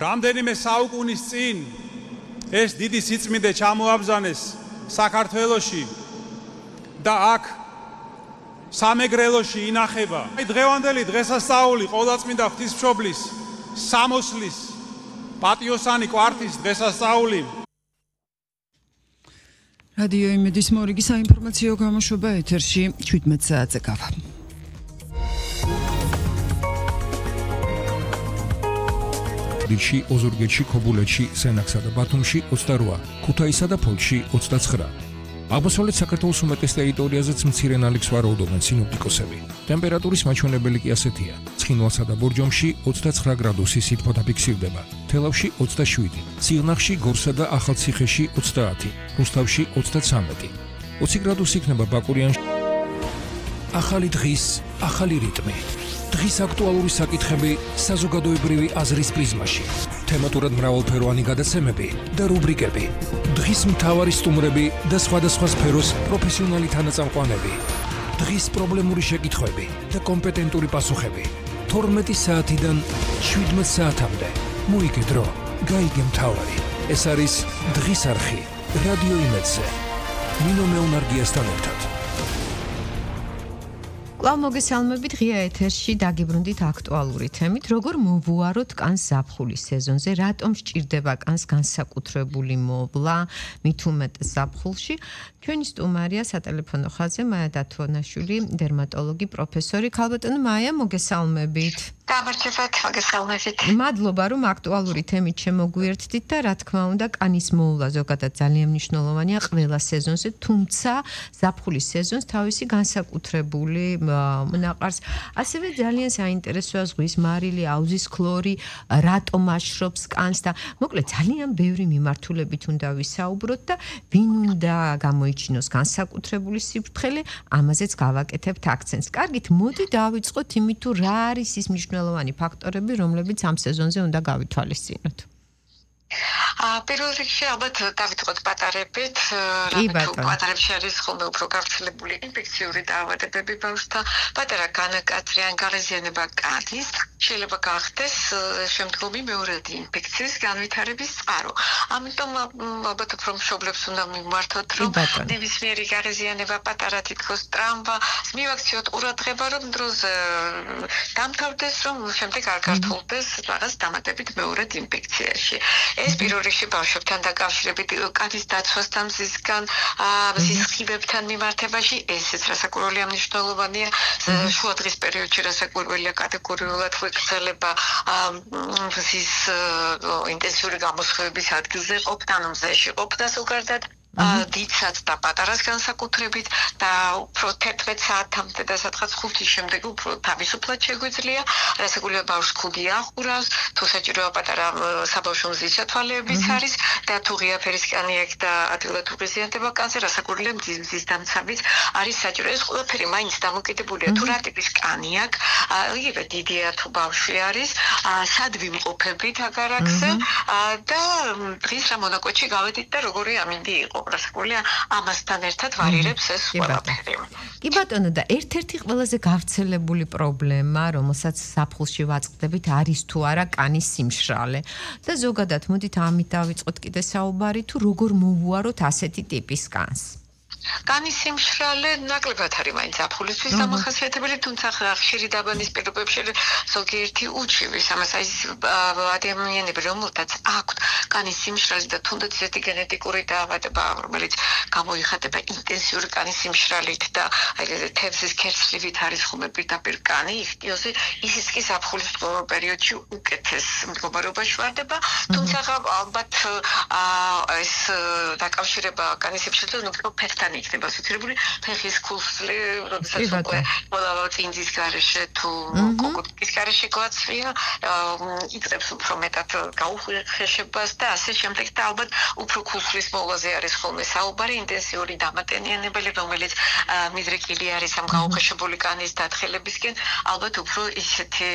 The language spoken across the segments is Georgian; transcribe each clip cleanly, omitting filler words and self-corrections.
რამდენიმე საუკუნის წინ ეს დიდი სიწმიდე ჩამოაბრძანეს საქართველოში და აქ სამეგრელოში ინახება. დღევანდელი დღესასწაული ყოვლადწმინდა ღვთისმშობლის სამოსლის პატიოსანი კვართის დღესასწაული. რადიო იმედის მორიგი საინფორმაციო გამოშვება ეთერში 17 საათზე გავა. ში ოზურგეთში, ქობულეთში, სენაკსა და ბათუმში 28, ქუთაისსა და ფოთში 29. აღმოსავლეთ საქართველოს უმეტეს ტერიტორიაზეც მცირე ნალექს ვარაუდობენ სინოპტიკოსები. ტემპერატურის მაჩვენებელი კი ასეთია: ცხინვალსა და ბორჯომში 29 გრადუსი სითბო ფიქსირდება, თელავში 27, სიღნაღში, გორსა და ახალციხეში 30, რუსთავში 33. 20 გრადუსი იქნება ბაკურიანში. ახალი დღის, ახალი რიტმი. დღის აქტუალური საკითხები საზოგადოებრივი აზრის პრიზმაში. თემატურად მრავალფეროვანი გადაცემები და რუბრიკები. დღის მთავარი სტუმრები და სხვადასხვა სფეროს პროფესიონალი თანაწამყვანები. დღის პრობლემური შეკითხვები და კომპეტენტური პასუხები. 12 საათიდან 17 საათამდე. მოიგე დრო, გაიგე მთავარი. ეს არის დღის არხი რადიო იმედზე. ნინო მეუნარგიასთან ერთად. კვლავ მოგესალმებით ღია ეთერში დაგიბრუნდით აქტუალური თემით, როგორ მოვუაროთ კანს ზაფხულის სეზონზე, რატომ სჭირდება კანს განსაკუთრებული მოვლა, მით უმეტეს ზაფხულში. ჩვენი სტუმარია სატელეფონო ხაზზე მაია დათვანაშვილი, დერმატოლოგი, პროფესორი. ქალბატონო მაია, მოგესალმებით. გამარჯობათ, მოგესალმებით. მადლობა, რომ აქტუალური თემით შემოგვიერთდით და რა თქმა უნდა, კანის მოვლა ზოგადად ძალიან მნიშვნელოვანია ყველა სეზონზე, თუმცა ზაფხულის სეზონს თავისი განსაკუთრებული მონაყარს. ასევე ძალიან საინტერესოა ზღვის მარილი, აუზის ქლორი, რატომ აშრობს კანს და მოკლედ ძალიან ბევრი მიმართულებით უნდა ვისაუბროთ და ვინ უნდა გამოიჩინოს განსაკუთრებული სიფრთხილე, ამაზეც გავაკეთებთ აქცენტს. კარგით, მოდი დავიწყოთ იმით, თუ რა არის ის მნიშვნელოვანი ფაქტორები, რომლებიც ამ სეზონზე უნდა გავითვალისწინოთ. პირველ რიგში ალბათ დავიწყოთ პატარებით, რამე თუ პატარებში არის ხოლმე უფრო გავრცელებული ინფექციური დაავადებები ბავშვთა, პატარა განაკაცრი ან გარეზიანება კანის შეიძლება გახდეს შემდგომი მეორადი ინფექციის განვითარების წყარო. ამიტომ ალბათ უფრო მშობლებს უნდა მიმართოთ, რომ ნებისმიერი გარეზიანება, პატარა თითქოს ტრამვა, მივაქციოთ ყურადღება, რომ დროზე დამთავრდეს, რომ შემდეგ არ გართულდეს რაღაც დამატებით მეორად ინფექციაში. ეს პირველ რიგში ბავშვებთან დაკავშირებით კანის დაცვასთან, მზისგან, მზის სხივებთან მიმართებაში ესეც რასაკვირველია მნიშვნელოვანია. შუადღის პერიოდში რასაკვირველია კატეგორიულად ვეკრძალება მზის ინტენსიური გამოსხივების ადგილზე ყოფნა, მზეში ყოფნა ზოგადად. დიდსაც და პატარას განსაკუთრებით და უფრო 11 საათამდე და სადღაც 5-ის შემდეგ უფრო თავისუფლად შეგვიძლია, რასაკვირველია ბავშვს ქუდი ახურავს, თუ საჭიროა პატარა საბავშვო მზის ჩათვალეებიც არის და თუ ღიაფერის კანი აქვს და ადვილად უღიზიანდება კანზე, რასაკვირველია მზის დამცავიც არის საჭირო. ეს ყველაფერი მაინც დამოკიდებულია თუ რა ტიპის კანი აქვს, იგივე დიდია თუ ბავშვი არის, სად ვიმყოფებით აგარაკზე და დღის რა მონაკვეთში გავედით და როგორი ამინდი იყო. რასაკვირველია ამასთან ერთად ვარირებს ეს ყველაფერი. კი ბატონო, და ერთ-ერთი ყველაზე გავრცელებული პრობლემა, რომელსაც ზაფხულში ვაწყდებით, არის თუ არა კანის სიმშრალე. და ზოგადად მოდით ამით დავიწყოთ კიდე საუბარი, თუ როგორ მოვუაროთ ასეთი ტიპის კანს. კანის სიმშრალე ნაკლებად არის მაინც ზაფხულისთვის დამახასიათებელი, თუმცა ხშირი დაბანის პირობებში ზოგიერთი უჩივის ამას აი ადამიანები, რომელთაც აქვთ კანის სიმშრალე და თუნდაც ესეთი გენეტიკური დაავადება, რომელიც გამოიხატება ინტენსიური კანის სიმშრალით და თევზის ქერცლივით არის ხოლმე პირდაპირ კანი, იხტიოსი, ისიც კი ზაფხულის პერიოდში უკეთეს მდგომარეობაში ვარდება, თუმცა ალბათ ეს დაკავშირება კანის სიმშრალთან უფრო ფეხთან იქნება ასოცირებული ფეხის ქუსლი, როდესაც უკვე წინძის გარეშე თუ კოკოტკის გარეშე გვაცვლია, იწყებს უფრო მეტად გაუხეშებას და ასე შემდეგ და ალბათ უფრო ქუსლის მოვლაზე არის ხოლმე საუბარი, ინტენსიური დამატენიანებელი, რომელიც მიდრეკილი არის ამ გაუხეშებული კანის დათხელებისკენ, ალბათ უფრო ისეთი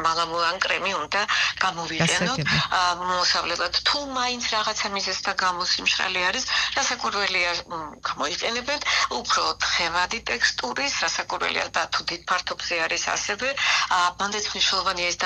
მალამულან კრემი უნდა გამოვიყენოთ მოსავლელად. თუ მაინც რაღაცა მიზეზთა გამო სიმშრალე არის, რასაკვირველია გამოიყენებენ უფრო თხევადი ტექსტურის, რასაკვირველია და თუ დიდ ფართობზე არის ასევე, მანდაც მნიშვნელოვანია ეს